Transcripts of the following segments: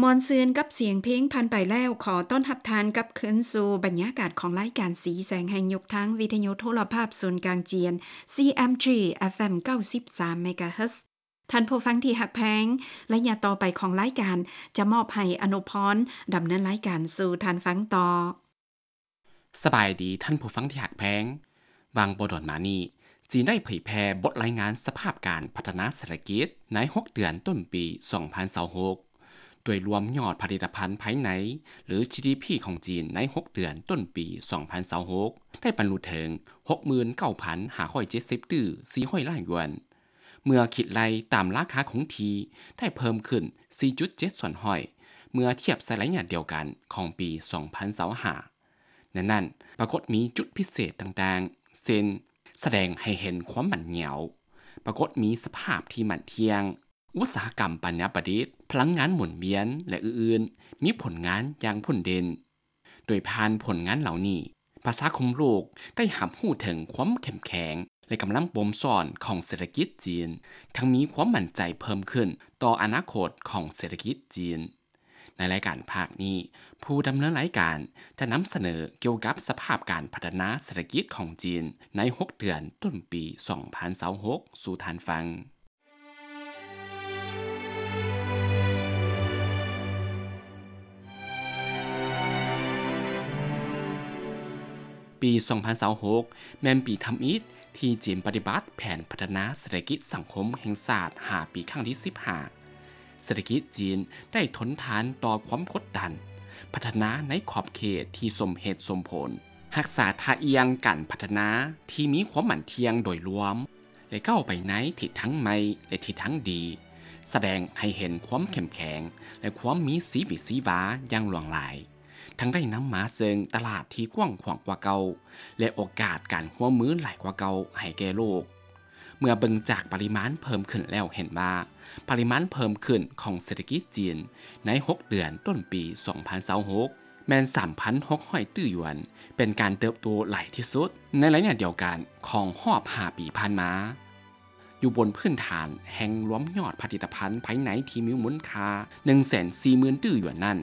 ມ່ວນຊື່ນກັບສຽງເພງຜ່ານໄປແລ້ວ, ຂໍຕ້ອນຮັບທ່ານກັບຄືນສູ່ບັນຍາກາດຂອງລາຍການສີແສງແຫ່ງຍຸກທາງວິທະຍຸໂທລະພາບສູນກາງຈຽນ CMG FM ເກົ້າສິບສາມ MHz. ທ່ານຜູ້ຟັງທີ່ຮັກແພງ, ໄລຍະຕໍ່ໄປຂອງລາຍການຈະມອບໃຫ້ອະນຸພອນດຳເນີນລາຍການສູ່ທ່ານຟັງຕໍ່. ສະບາຍດີທ່ານຜູ້ຟັງທີ່ຮັກແພງ. ຫວ່າງບໍ່ດົນມານີ້, ຈີນໄດ້ເຜີຍແຜ່ບົດລາຍງານສະພາບການພັດທະນາເສດຖະກິດໃນຫົກເດືອນຕົ້ນປີສອງພັນຊາວຫົກ ໂດຍລວມຍອດຜະລິດຕະພັນພາຍໃນ ຫຼື GDP ຂອງຈີນໃນຫົກເດືອນຕົ້ນປີສອງພັນຊາວຫົກ ໄດ້ບັນລຸເຖິງຫົກໝື່ນເກົ້າພັນຫ້າຮ້ອຍເຈັດສິບຕື້ສີ່ຮ້ອຍລ້ານຢວນ. ເມື່ອຄິດໄລ່ຕາມລາຄາຄົງທີ່ ໄດ້ເພີ່ມຂຶ້ນສີ່ຈຸດເຈັດສ່ວນຮ້ອຍ ເມື່ອທຽບໃສ່ໄລຍະດຽວກັນຂອງປີສອງພັນຊາວຫ້າ. ໃນນັ້ນປາກົດມີຈຸດພິເສດຕ່າງໆ ເຊັ່ນ ສະແດງໃຫ້ເຫັນຄວາມໝັ້ນຍຽວ, ປາກົດມີສະພາບທີ່ໝັ້ນທ່ຽງ, ອຸດສາຫະກຳປັນຍາປະດິດ, ພະລັງງານໝູນວຽນ ແລະ ອື່ນໆ ມີຜົນງານຢ່າງໂດດເດັ່ນ. ໂດຍຜ່ານຜົນງານເຫຼົ່ານີ້, ປະຊາຄົມໂລກໄດ້ຮັບຮູ້ເຖິງຄວາມເຂັ້ມແຂງ ແລະ ກຳລັງບົ່ມຊ້ອນຂອງເສດຖະກິດຈີນ, ທັງມີຄວາມໝັ້ນໃຈເພີ່ມຂຶ້ນຕໍ່ອະນາຄົດຂອງເສດຖະກິດຈີນ. ໃນລາຍການພາກນີ້, ຜູ້ດຳເນີນລາຍການຈະນຳສະເໜີກ່ຽວກັບສະພາບການພັດທະນາເສດຖະກິດຂອງຈີນໃນຫົກເດືອນຕົ້ນປີສອງພັນຊາວຫົກສູ່ທ່ານຟັງ. ປີສອງພັນຊາວຫົກ ແມ່ນປີທຳອິດທີ່ຈີນປະຕິບັດແຜນພັດທະນາເສດຖະກິດສັງຄົມແຫ່ງຊາດຫ້າປີຄັ້ງທີສິບຫ້າ. ເສດຖະກິດຈີນໄດ້ທົນທານຕໍ່ຄວາມກົດດັນ, ພັດທະນາໃນຂອບເຂດທີ່ສົມເຫດສົມຜົນ, ຮັກສາທ່າອ່ຽງການພັດທະນາທີ່ມີຄວາມໝັ້ນທ່ຽງໂດຍລວມ ແລະ ກ້າວໄປໃນທິດທາງໃໝ່ ແລະ ທິດທາງດີ, ສະແດງໃຫ້ເຫັນຄວາມເຂັ້ມແຂງ ແລະ ຄວາມມີຊີວິດຊີວາຢ່າງຫຼວງຫຼາຍ, ທັງໄດ້ນຳມາເຊິ່ງຕະຫຼາດທີ່ກວ້າງຂວາງກວ່າເກົ່າ ແລະ ໂອກາດການຮ່ວມມືຫຼາຍກວ່າເກົ່າໃຫ້ແກ່ໂລກ. ເມື່ອເບິ່ງຈາກປະລິມານເພີ່ມຂຶ້ນແລ້ວເຫັນວ່າ ປະລິມານເພີ່ມຂຶ້ນຂອງເສດຖະກິດຈີນໃນຫົກເດືອນຕົ້ນປີສອງພັນຊາວຫົກ ແມ່ນສາມພັນຫົກຮ້ອຍຕື້ຢວນ, ເປັນການເຕີບໂຕຫຼາຍທີ່ສຸດໃນໄລຍະດຽວກັນຂອງຮອບຫ້າປີຜ່ານມາ, ຢູ່ບົນພື້ນຖານແຫ່ງລວມຍອດຜະລິດຕະພັນພາຍໃນທີ່ມີມູນຄ່າໜຶ່ງແສນສີ່ໝື່ນຕື້ຢວນນັ້ນ.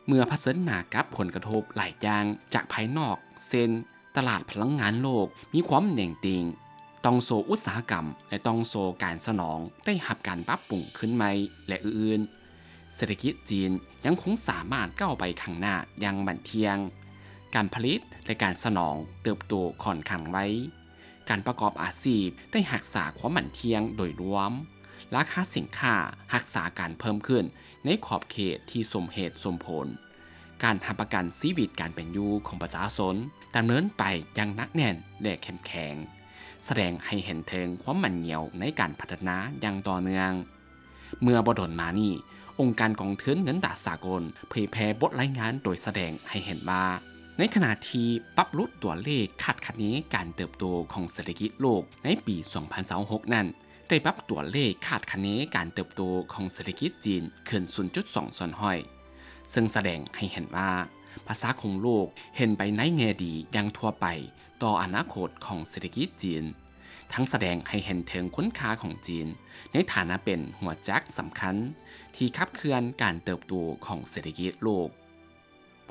ເມື່ອຜະເຊີນໜ້າກັບຜົນກະທົບຫຼາຍຢ່າງຈາກພາຍນອກ ເຊັ່ນ ຕະຫຼາດພະລັງງານໂລກມີຄວາມເໜັງຕີງ, ຕ່ອງໂສ້ອຸດສາຫະກຳ ແລະ ຕ່ອງໂສ້ການສະໜອງໄດ້ຮັບການປັບປຸງຄືນໃໝ່ ແລະ ອື່ນໆ, ເສດຖະກິດຈີນຍັງຄົງສາມາດກ້າວໄປຂ້າງໜ້າຢ່າງໝັ້ນທ່ຽງ. ການຜະລິດ ແລະ ການສະໜອງເຕີບໂຕຂ້ອນຂ້າງໄວ. ການປະກອບອາຊີບໄດ້ຮັກສາຄວາມໝັ້ນທ່ຽງໂດຍລວມ. ລາຄາສິນຄ້າຮັກສາການເພີ່ມຂຶ້ນໃນຂອບເຂດທີ່ສົມເຫດສົມຜົນ. ການຮັບປະກັນຊີວິດການເປັນຢູ່ຂອງປະຊາຊົນດຳເນີນໄປຢ່າງໜັກແໜ້ນ ແລະ ເຂັ້ມແຂງ, ສະແດງໃຫ້ເຫັນເຖິງຄວາມໝັ້ນຍຽວໃນການພັດທະນາຢ່າງຕໍ່ເນື່ອງ. ເມື່ອບໍ່ດົນມານີ້, ອົງການກອງທຶນເງິນຕາສາກົນເຜີຍແຜ່ບົດລາຍງານໂດຍສະແດງໃຫ້ເຫັນວ່າ, ໃນຂະນະທີ່ປັບຫຼຸດຕົວເລກຄາດຄະເນການເຕີບໂຕຂອງເສດຖະກິດໂລກໃນປີສອງພັນຊາວຫົກນັ້ນ, ໄດ້ປັບຕົວເລກຄາດຄະເນການເຕີບໂຕຂອງເສດຖະກິດຈີນຂຶ້ນສູນຈຸດສອງສ່ວນຮ້ອຍ, ເຊິ່ງສະແດງໃຫ້ເຫັນວ່າ ປະຊາຄົມໂລກເຫັນໄປໃນແງ່ດີຢ່າງທົ່ວໄປຕໍ່ອະນາຄົດຂອງເສດຖະກິດຈີນ. ທັງສະແດງໃຫ້ເຫັນເຖິງຄຸນຄ່າຂອງຈີນໃນຖານະເປັນຫົວຈັກສຳຄັນທີ່ຂັບເຄື່ອນການເຕີບໂຕຂອງເສດຖະກິດໂລກ.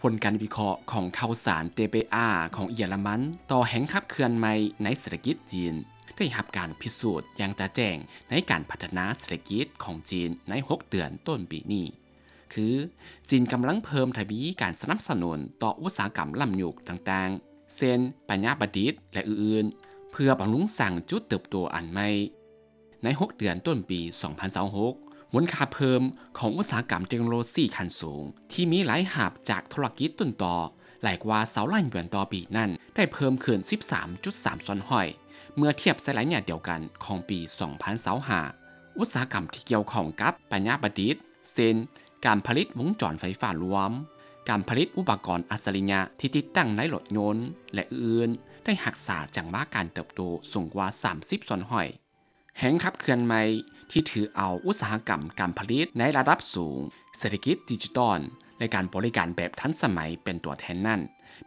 ຜົນການວິເຄາະຂອງຂ່າວສານ TPA ຂອງເຢຍລະມັນຕໍ່ແຮງຂັບເຄື່ອນໃໝ່ໃນເສດຖະກິດຈີນ ໄດ້ຮັບການພິສູດຢ່າງຈະແຈ້ງໃນການພັດທະນາເສດຖະກິດຂອງຈີນໃນຫົກເດືອນຕົ້ນປີນີ້. ຄື ຈີນກຳລັງເພີ່ມທະວີການສະໜັບສະໜູນຕໍ່ອຸດສາຫະກຳລ້ຳຍຸກຕ່າງໆ ເຊັ່ນ ປັນຍາປະດິດ ແລະ ອື່ນໆ ເພື່ອບຳລຸງສ້າງຈຸດເຕີບໂຕອັນໃໝ່. ໃນຫົກເດືອນຕົ້ນປີສອງພັນຊາວຫົກ, ມູນຄ່າເພີ່ມຂອງອຸດສາຫະກຳເຕັກໂນໂລຊີຂັ້ນສູງທີ່ມີລາຍຮັບຈາກທຸລະກິດຕົ້ນຕໍຫຼາຍກວ່າຊາວລ້ານຢວນຕໍ່ປີນັ້ນ ໄດ້ເພີ່ມຂຶ້ນສິບສາມຈຸດສາມສ່ວນຮ້ອຍ ເມື່ອທຽບໃສ່ໄລຍະດຽວກັນຂອງປີສອງພັນຊາວຫ້າ. ອຸດສາຫະກຳທີ່ກ່ຽວຂ້ອງກັບປັນຍາປະດິດ ເຊັ່ນ ການຜະລິດວົງຈອນໄຟຟ້າລວມ, ການຜະລິດອຸປະກອນອັດສະລິຍະທີ່ຕິດຕັ້ງໃນລົດຍົນ ແລະ ອື່ນໆ ໄດ້ຮັກສາຈັງຫວະການເຕີບໂຕສູງກວ່າສາມສິບສ່ວນຮ້ອຍ. ແຮງຂັບເຄື່ອນໃໝ່ທີ່ຖືເອົາອຸດສາຫະກຳການຜະລິດໃນລະດັບສູງ, ເສດຖະກິດດິຈິຕອນ ແລະ ການບໍລິການແບບທັນສະໄໝເປັນຕົວແທນນັ້ນ,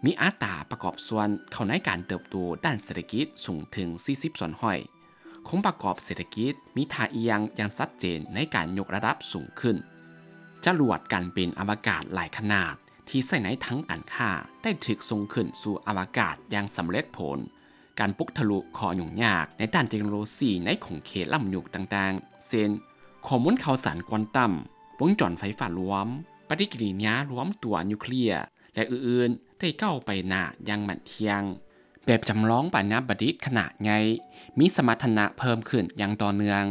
ມີອັດຕາປະກອບສ່ວນເຂົ້າໃນການເຕີບໂຕດ້ານເສດຖະກິດສູງເຖິງສີ່ສິບສ່ວນຮ້ອຍ. ໂຄງປະກອບເສດຖະກິດມີທ່າອ່ຽງຢ່າງຊັດເຈນໃນການຍົກລະດັບສູງຂຶ້ນ. ຈະລວດການບິນອະວະກາດຫຼາຍຂະໜາດທີ່ໃຊ້ໃນທາງການຄ້າໄດ້ຖືກສົ່ງຂຶ້ນສູ່ອະວະກາດຢ່າງສຳເລັດຜົນ. ການປຸກທະລຸຂໍ້ຫຍຸ້ງຍາກໃນດ້ານເຕັກໂນໂລຊີໃນຂົງເຂດລ້ຳຍຸກຕ່າງໆ ເຊັ່ນ ຂໍ້ມູນຂ່າວສານຄວານຕຳ, ວົງຈອນໄຟຟ້າລວມ, ປະຕິກິລິຍາລວມຕົວນິວເຄລຍ ແລະ ອື່ນໆ ໄດ້ກ້າວໄປໜ້າຢ່າງໝັ້ນທ່ຽງ. ແບບຈຳລອງປາຍນາປະດິດຂະໜາດໃຫຍ່ມີສະມັດຖະນະເພີ່ມຂຶ້ນຢ່າງຕໍ່ເນື່ອງ.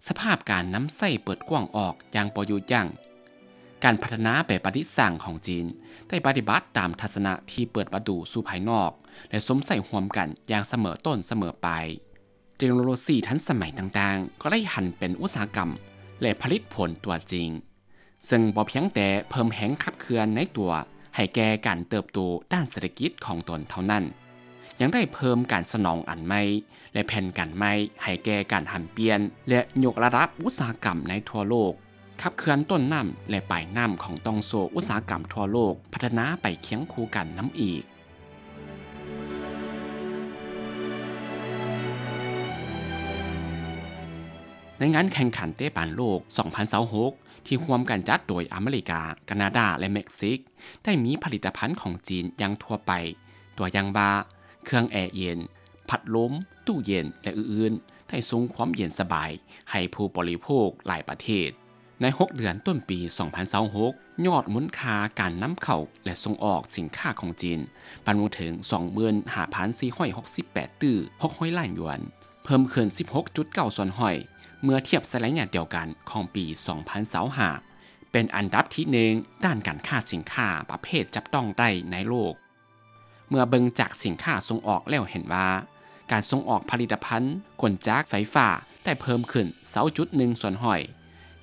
ສະພາບການນຳໃຊ້ເປີດກວ້າງອອກຢ່າງບໍ່ຢຸດຢັ້ງ. ການພັດທະນາແບບປະດິດສ້າງຂອງຈີນໄດ້ປະຕິບັດຕາມທັດສະນະທີ່ເປີດປະຕູສູ່ພາຍນອກ ແລະ ຊົມໃຊ້ຮ່ວມກັນຢ່າງສະເໝີຕົ້ນສະເໝີປາຍ. ເຕັກໂນໂລຊີທັນສະໄໝຕ່າງໆ ກໍໄດ້ຫັນເປັນອຸດສາຫະກຳ ແລະ ຜະລິດຜົນຕົວຈິງ, ເຊິ່ງບໍ່ພຽງແຕ່ເພີ່ມແຮງຂັບເຄື່ອນໃນຕົວໃຫ້ແກ່ການເຕີບໂຕດ້ານເສດຖະກິດຂອງຕົນເທົ່ານັ້ນ, ຍັງໄດ້ເພີ່ມການສະໜອງອັນໃໝ່ ແລະ ແຜນການໃໝ່ໃຫ້ແກ່ການຫັນປ່ຽນ ແລະ ຍົກລະດັບອຸດສາຫະກຳໃນທົ່ວໂລກ, ຂັບເຄື່ອນຕົ້ນນ້ຳ ແລະ ປາຍນ້ຳຂອງຕ່ອງໂສ້ອຸດສາຫະກຳທົ່ວໂລກພັດທະນາໄປຄຽງຄູ່ກັນນຳອີກ. ໃນງານແຂ່ງຂັນເຕະບານໂລກສອງພັນຊາວຫົກ ທີ່ຮ່ວມກັນຈັດໂດຍອາເມລິກາ, ການາດາ ແລະ ເມັກຊິກ ໄດ້ມີຜະລິດຕະພັນຂອງຈີນຢ່າງທົ່ວໄປ, ຕົວຢ່າງວ່າ ເຄື່ອງແອເຢັນ, ພັດລົມ, ຕູ້ເຢັນ ແລະ ອື່ນໆ ໄດ້ສົ່ງຄວາມເຢັນສະບາຍໃຫ້ຜູ້ບໍລິໂພກຫຼາຍປະເທດ. ໃນຫົກເດືອນຕົ້ນປີສອງພັນຊາວຫົກ ຍອດມູນຄ່າການນຳເຂົ້າ ແລະ ສົ່ງອອກສິນຄ້າຂອງຈີນບຳລຸເຖິງສອງໝື່ນຫ້າພັນສີ່ຮ້ອຍຫົກສິບແປດຕື້ຫົກຮ້ອຍລ້ານຢວນ, ເພີ່ມຂຶ້ນສິບຫົກຈຸດເກົ້າສ່ວນຮ້ອຍ ເມື່ອທຽບໃສ່ໄລຍະດຽວກັນຂອງປີສອງພັນຊາວຫ້າ ເປັນອັນດັບທີໜຶ່ງດ້ານການຄ້າສິນຄ້າປະເພດຈັບຕ້ອງໄດ້ໃນໂລກ. ເມື່ອເບິ່ງຈາກສິນຄ້າສົ່ງອອກແລ້ວເຫັນວ່າ ການສົ່ງອອກຜະລິດຕະພັນກົນຈັກໄຟຟ້າໄດ້ເພີ່ມຂຶ້ນຊາວຈຸດໜຶ່ງສ່ວນຮ້ອຍ,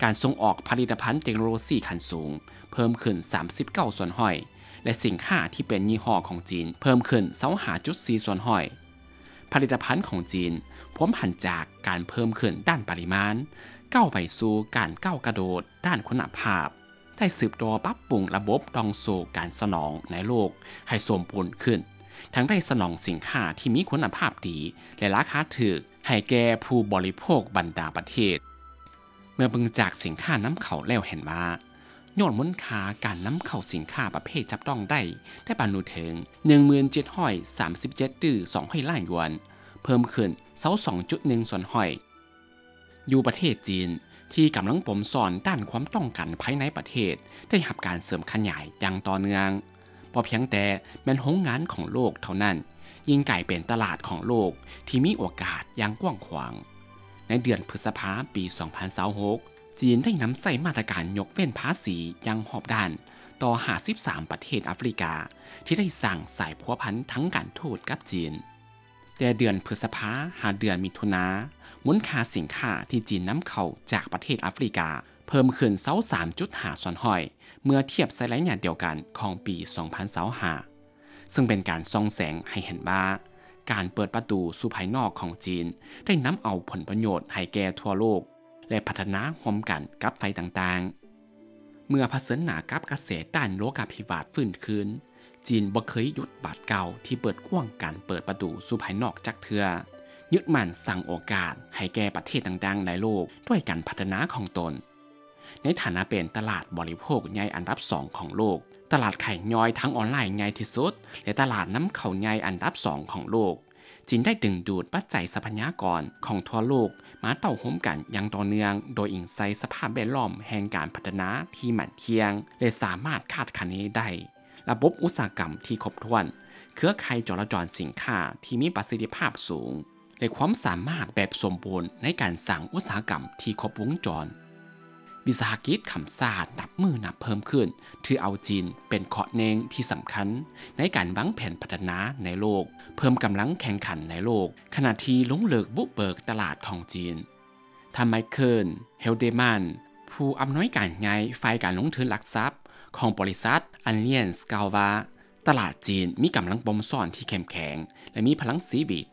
ການສົ່ງອອກຜະລິດຕະພັນເຕັກໂນໂລຊີຂັ້ນສູງເພີ່ມຂຶ້ນສາມສິບເກົ້າສ່ວນຮ້ອຍ ແລະ ສິນຄ້າທີ່ເປັນຍີ່ຫໍ້ຂອງຈີນເພີ່ມຂຶ້ນຊາວຫ້າຈຸດສີ່ສ່ວນຮ້ອຍ. ຜະລິດຕະພັນຂອງຈີນພວມຫັນຈາກການເພີ່ມຂຶ້ນດ້ານປະລິມານ ກ້າວໄປສູ່ການກ້າວກະໂດດດ້ານຄຸນນະພາບ, ໄດ້ສືບຕໍ່ປັບປຸງລະບົບຕ່ອງໂສ້ການສະໜອງໃນໂລກໃຫ້ສົມບູນຂຶ້ນ, ທັງໄດ້ສະໜອງສິນຄ້າທີ່ມີຄຸນນະພາບດີ ແລະ ລາຄາຖືກໃຫ້ແກ່ຜູ້ບໍລິໂພກບັນດາປະເທດ. ເມື່ອເບິ່ງຈາກສິນຄ້ານຳເຂົ້າແລ້ວເຫັນວ່າ ຍອດມູນຄ່າການນຳເຂົ້າສິນຄ້າປະເພດຈັບຕ້ອງໄດ້ ໄດ້ບັນລຸເຖິງໜຶ່ງໝື່ນເຈັດຮ້ອຍສາມສິບເຈັດຕື້ສອງຮ້ອຍລ້ານຢວນ, ເພີ່ມຂຶ້ນຊາວສອງຈຸດໜຶ່ງສ່ວນຮ້ອຍ. ຢູ່ປະເທດຈີນ ທີ່ກຳລັງປົມຊ້ອນດ້ານຄວາມຕ້ອງການພາຍໃນປະເທດ ໄດ້ຮັບການເສີມຂະຫຍາຍຢ່າງຕໍ່ເນື່ອງ. ບໍ່ພຽງແຕ່ແມ່ນໂຮງງານຂອງໂລກເທົ່ານັ້ນ, ຍິ່ງກາຍເປັນຕະຫຼາດຂອງໂລກທີ່ມີໂອກາດຢ່າງກວ້າງຂວາງ. ໃນເດືອນພຶດສະພາປີສອງພັນຊາວຫົກ ຈີນໄດ້ນຳໃຊ້ມາດຕະການຍົກເວັ້ນພາສີຢ່າງຮອບດ້ານຕໍ່ຫ້າສິບສາມປະເທດອາຟຣິກາ ທີ່ໄດ້ສ້າງສາຍພົວພັນທາງການທູດກັບຈີນ. ແຕ່ເດືອນພຶດສະພາຫາເດືອນມິຖຸນາ, ມູນຄ່າສິນຄ້າທີ່ຈີນນຳເຂົ້າຈາກປະເທດອາຟຣິກາເພີ່ມຂຶ້ນຊາວສາມຈຸດຫ້າສ່ວນຮ້ອຍ ເມື່ອທຽບໃສ່ໄລຍະດຽວກັນຂອງປີສອງພັນຊາວຫ້າ ເຊິ່ງເປັນການສ່ອງແສງໃຫ້ເຫັນວ່າ ການເປີດປະຕູສູ່ພາຍນອກຂອງຈີນໄດ້ນຳເອົາຜົນປະໂຫຍດໃຫ້ແກ່ທົ່ວໂລກ ແລະ ພັດທະນາຮ່ວມກັນກັບຝ່າຍຕ່າງໆ. ເມື່ອຜະເຊີນໜ້າກັບກະແສຕ້ານໂລກາພິວາດຟື້ນຄືນ, ຈີນບໍ່ເຄີຍຢຸດບາດກ້າວທີ່ເປີດກວ້າງການເປີດປະຕູສູ່ພາຍນອກຈັກເທື່ອ, ຍຶດໝັ້ນສ້າງໂອກາດໃຫ້ແກ່ປະເທດຕ່າງໆໃນໂລກດ້ວຍການພັດທະນາຂອງຕົນ. ໃນຖານະເປັນຕະຫຼາດບໍລິໂພກໃຫຍ່ອັນດັບສອງຂອງໂລກ, ຕະຫຼາດຂາຍຍ່ອຍທາງອອນລາຍໃຫຍ່ທີ່ສຸດ ແລະ ຕະຫຼາດນຳເຂົ້າໃຫຍ່ອັນດັບສອງຂອງໂລກ, ຈີນໄດ້ດຶງດູດປັດໄຈຊັບພະຍາກອນຂອງທົ່ວໂລກມາເຕົ້າໂຮມກັນຢ່າງຕໍ່ເນື່ອງ ໂດຍອີງໃສ່ສະພາບແວດລ້ອມແຫ່ງການພັດທະນາທີ່ໝັ້ນທ່ຽງ ແລະ ສາມາດຄາດຄະເນໄດ້, ລະບົບອຸດສາຫະກຳທີ່ຄົບຖ້ວນ, ເຄືອຂ່າຍຈໍລະຈອນສິນຄ້າທີ່ມີປະສິດທິພາບສູງ ແລະ ຄວາມສາມາດແບບສົມບູນໃນການສ້າງອຸດສາຫະກຳທີ່ຄົບວົງຈອນ. ວິສາຫະກິດຂ້າມຊາດນັບມື້ນັບເພີ່ມຂຶ້ນ ຖືເອົາຈີນເປັນເຄາະເໜັງທີ່ສຳຄັນໃນການວາງແຜນພັດທະນາໃນໂລກ, ເພີ່ມກຳລັງແຂ່ງຂັນໃນໂລກ, ຂະນະທີ່ລົງເລິກບຸກເບີກຕະຫຼາດຂອງຈີນ. ທ່ານ ໄມເຄິນ ເຮລເດມັນ ຜູ້ອຳນວຍການໃຫຍ່ຝ່າຍການລົງທຶນຫຼັກຊັບຂອງບໍລິສັດ Allianz ກ່າວວ່າ ຕະຫຼາດຈີນມີກຳລັງບົ່ມຊ້ອນທີ່ເຂັ້ມແຂງ ແລະ ມີພະລັງຊີວິດ